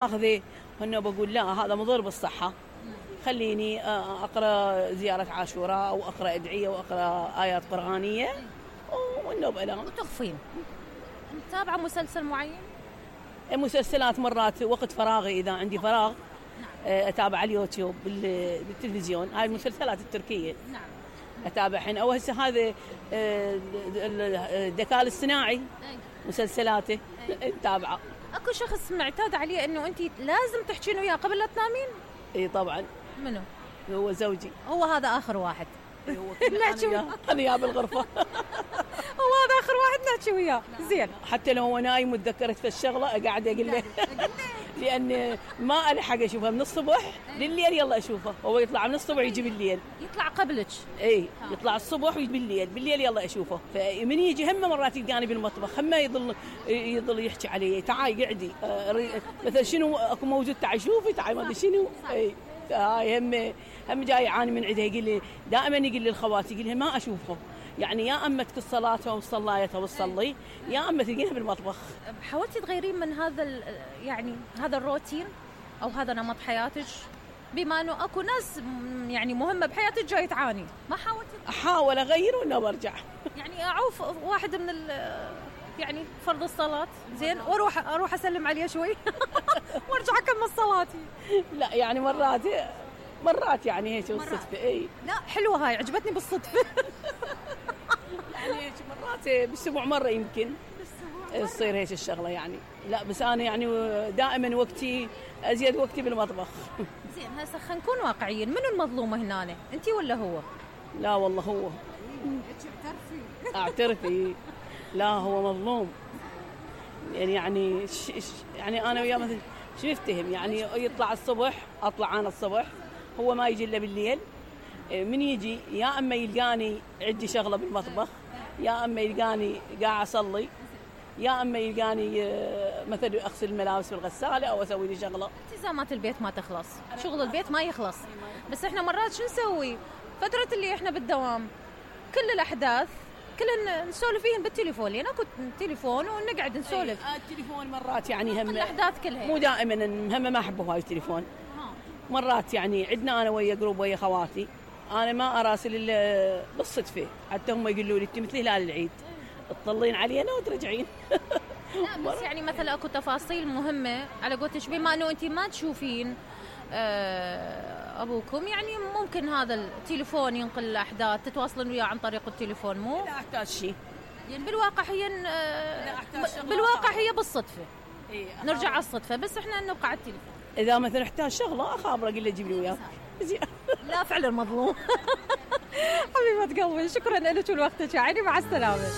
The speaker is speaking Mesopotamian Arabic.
اخذه هنا بقول لا هذا مضر بالصحة. خليني اقرا زيارة عاشوراء او اقرا ادعية واقرا ايات قرآنية والنوب الام. وتخفين. متابعة مسلسل معين؟ المسلسلات مرات وقت فراغي اذا عندي فراغ اتابع على اليوتيوب بالتلفزيون هاي المسلسلات التركية. نعم. اتابعهن او هسه هذا الذكاء الاصطناعي مسلسلاته نتابعه. اكو شخص معتاد عليه انه انت لازم تحكين وياه قبل لا تنامين؟ اي طبعا. منو؟ هو زوجي. هو هذا اخر واحد. انا وياه بالغرفه. هو هذا اخر واحد نحكي وياه. زين. حتى لو هو نايم وتذكرت في الشغله قاعد اقول له لان ما الحق اشوفها من الصبح لليل يلا اشوفه. هو يطلع من الصبح يجي بالليل. يطلع قبلك؟ اي يطلع الصبح ويجي بالليل يلا اشوفه. فمن يجي هم مرات يلقاني بالمطبخ هم يظل يحكي علي تعاي قعدي مثلا شنو اكو موجود تعاي شوفي تعاي ما ادري شنو. اي هاي هم جاي يعاني من عندها. يقول لي دائما يقول لي الخواتي يقول لها ما اشوفهم يعني يا اما الصلاه وصلايتها وتصلي يا اما تلقينها بالمطبخ. حاولتي تغيرين من هذا يعني هذا الروتين او هذا نمط حياتك بما انه اكو ناس يعني مهمه بحياتك جاي تعاني؟ ما حاولتي؟ احاول اغير ولا برجع يعني اعوف واحد من يعني فرض الصلاه زين واروح اسلم عليه شوي وارجع اكمل صلاتي. لا يعني مرات يعني هيك بالصدفه. اي لا حلوه هاي عجبتني بالصدفه. يعني هيك مرات بالاسبوع مره يمكن تصير هيك الشغله يعني. لا بس انا يعني دائما وقتي ازيد وقتي بالمطبخ. زين هسه خلينا نكون واقعيين. منو المظلومه هنا انت ولا هو؟ لا والله هو. اعترفي لا هو مظلوم يعني يعني انا وياه مثلا شو نفتهم يعني يطلع الصبح اطلع انا الصبح هو ما يجي الا بالليل. من يجي يا اما يلقاني عندي شغله بالمطبخ يا اما يلقاني قاعد اصلي يا اما يلقاني مثلا اغسل الملابس بالغساله او اسوي لي شغله. التزامات البيت ما تخلص، شغل البيت ما يخلص. بس احنا مرات شو نسوي؟ فتره اللي احنا بالدوام كل الاحداث كلنا نسولف فيهن بالتليفون لان اكو تليفون ونقعد نسولف. التليفون مرات يعني هم الاحداث كلها مو دائما هم ما احبه هاي التليفون. مرات يعني عندنا انا ويا جروب ويا خواتي انا ما اراسل الا بالصدفه حتى هم يقولوا لي انت مثل هلال العيد تطلين علينا وترجعين. لا بس يعني مثلا اكو تفاصيل مهمه على قولتش بما انه انت ما تشوفين ابوكم يعني ممكن هذا التليفون ينقل الاحداث تتواصلون وياه عن طريق التليفون مو؟ لا احتاج شيء يعني بالواقع هي بالصدفه. نرجع على الصدفه بس احنا نبقى على التليفون. اذا مثلا احتاج شغله اخابره اقول له جيب لي وياه. لا فعلا مظلوم. حبيبه قلبي شكرا لك ولوقتك يعني مع السلامه.